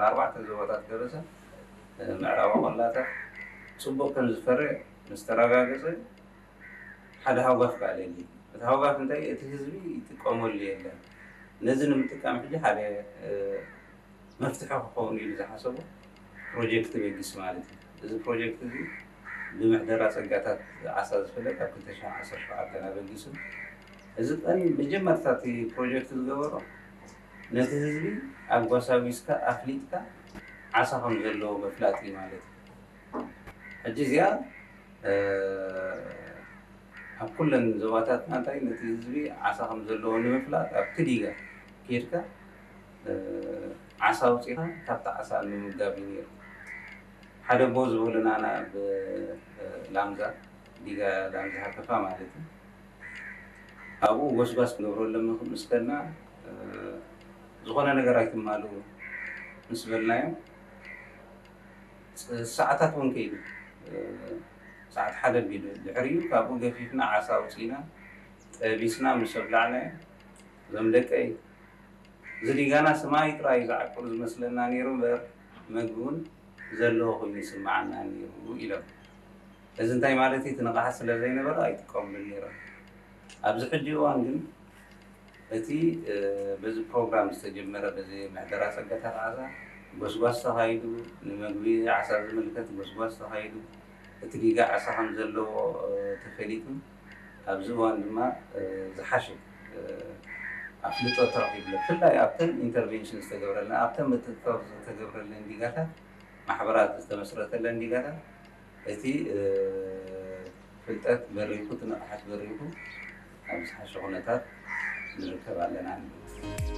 ኣርባዕተ ዞባታት ከበሳ ምዕራብ ቆላታት ጽቡቕ ከም ዝፈርዕ ምስ ተረጋገጸ ሓደ ሃውጋፍ ከኣ ለሊ። እቲ ሃውጋፍ እንታይ? እቲ ህዝቢ ይጥቀመሉ የለን። ነዚ ንምጥቃም ሕጂ ሓደ መፍትሒ ክኸውን ኢሉ ዝሓሰቦ ፕሮጀክት በጊስ ማለት እዩ። እዚ ፕሮጀክት እዚ ብምሕደራ ጸጋታት ዓሳ ዝፍለጥ ኣብ ክልተ ሽሕን ዓሰርተ ሸውዓተን ኣበጊሱ። እዚ ቀን መጀመርታ እቲ ፕሮጀክት ዝገበሮ ነቲ ህዝቢ ኣብ ጓሳ ጒስካ ኣፍሊጥካ ዓሳ ከም ዘለዎ ምፍላጥ እዩ ማለት እዩ። ሕጂ እዚኣ ኣብ ኩለን ዞባታትና እንታይ ነቲ ህዝቢ ዓሳ ከም ዘለዎ ንምፍላጥ ኣብቲ ዲጋ ኬድካ ዓሳ ኣውፂኻ ካብቲ ዓሳ ንምምጋብ እዩ ነይሩ። ሓደ ኣቦ ዝበሉና ናብ ላምዛ፣ ዲጋ ላምዛ ሃከፋ ማለት እዩ። ኣብኡ ጎስጓስ ክንገብረሎም ምስ ከድና ዝኾነ ነገር ኣይትማልኡ ምስ በልናዮም ሰዓታት እውን ከይዱ፣ ሰዓት ሓደ ኣቢሉ ድሕሪኡ ካብኡ ገፊፍና ዓሳ ኣውፂእና ጠቢስና ምስ ኣብላዕናዮ፣ እዞም ደቀይ እዚ ዲጋና ስማይ ጥራይ ዝዓቁር ዝመስለና ነይሩ እምበር መግቢ እውን ዘለዎ ኮይኑ ይስምዓና ነይሩ ኢሎም። እዚ እንታይ ማለት እዩ? እቲ ንቕሓት ስለ ዘይነበረ ኣይጥቀምሉን ነይሮም። ኣብዚ ሕጂ እዋን ግን እቲ በዚ ፕሮግራም ዝተጀመረ በዚ ምሕደራ ጸጋታት ዓሳ ጎስጓስ ተኻይዱ፣ ንመግቢ ዓሳ ዝምልከት ጎስጓስ ተኻይዱ፣ እቲ ዲጋ ዓሳ ከም ዘለዎ ተፈሊጡ፣ ኣብዚ እዋን ድማ ዝሓሸ ኣፍልጦ ተረኺብሉ። ብፍላይ ኣብተን ኢንተርቬንሽን ዝተገብረለን ኣብተን ምጥጥር ዝተገብረለን ዲጋታት፣ ማሕበራት ዝተመስረተለን ዲጋታት እቲ ፍልጠት በሪኹ፣ እቲ ንቕሓት በሪኹ ኣብ ዝሓሸ ኩነታት ንርከብ ኣለና ንብል።